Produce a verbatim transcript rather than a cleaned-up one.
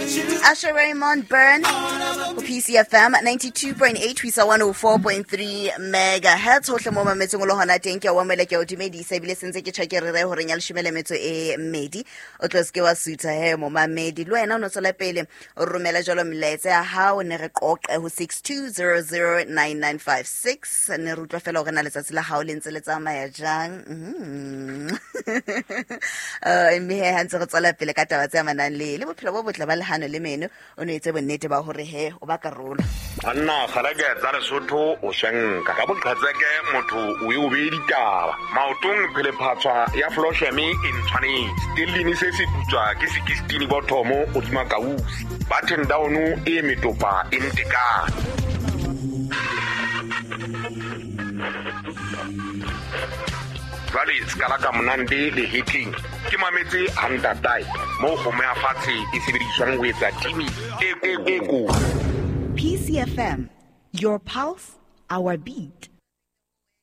Usher Raymond Burn ho P C F M ninety-two point eight ho isa one oh four point three megahertz. Hohle mo mametseng o le hona teng, ke a o amohela, ke a o dumedisa, ebile se ntse ke tjha ke re re horeng ya leshome le metso e mmedi. O tlo se ke wa sutha he momamedi. Le wena o no tswela pele o romela jwalo melaetsa ya hao, ne re qoqe ho six two zero zero nine nine five six. Ne re utlwa fela hore na letsatsi la hao le ntse le tsamaya jang. Mm. Eh, mme he ha ntse re tswela pele ka taba tse amanang le le bophelo bo botle ba lehano le meno, o no etse bonnete ba hore he o ba karolo. Banna kgaleke tsa Lesotho o shenka ka boqhetseke motho o e o beye ditaba. Maotong phelephatswa ya Flosheme e ntshwanetse. Stellini se se putswa ke sixteen bothomo hodima kausi. Button down e metopa e ntekane. Jwale ska la ka monande le hitling. Ke mametse hantatai mo kgomo ya fatshe e sebediswang ho etsa timi e ko. P C F M, your pulse, our beat.